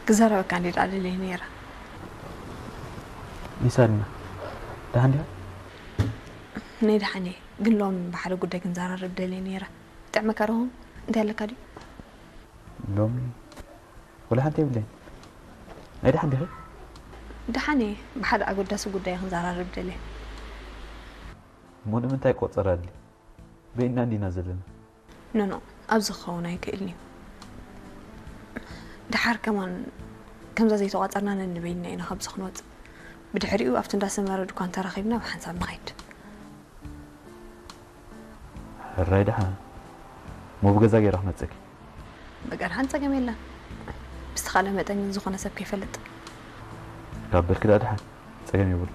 ክዛረበካ እንዴ ደኣ ደልየ ነይረ። ይሳልና ደሓን ዲኻ? ናይ ደሓን እየ፣ ግን ሎም ብሓደ ጉዳይ ክንዘራረብ ደልየ ነይረ። ይጥዕመካ ዶ? እንታይ ኣለካ ድዩ? ሎሚ ወላ ሓንቲ የብለይን። ናይ ደሓን ዲኺ? ደሓን እየ፣ ብሓደ ኣገዳሲ ጉዳይ ክንዘራረብ ደልየ። እሞ ንምንታይ ቆጸራ ኣድሊ? በይንና እንዲና ዘለና። ኖኖ፣ ኣብዚ ክኸውን ኣይክእልን እዩ። ደሓር ከማን ከምዛ ዘይተቋጸርና ነንበይንና ኢና ካብዚ ክንወጽእ። ብድሕሪኡ ኣብቲ እንዳ ሰመረ ድኳን ተራኺብና ብሓንሳብ ንኸይድ። ሕራይ ደሓን። እሞ ብገዛ ገይረ ክመጽእኪ። በቃ ደሓን ጸገም የለን። ብዝተኻለ መጠን ግን ዝኾነ ሰብ ከይፈልጥ። ካብ በልኪ ደኣ ደሓን። ጸገም የብሉ።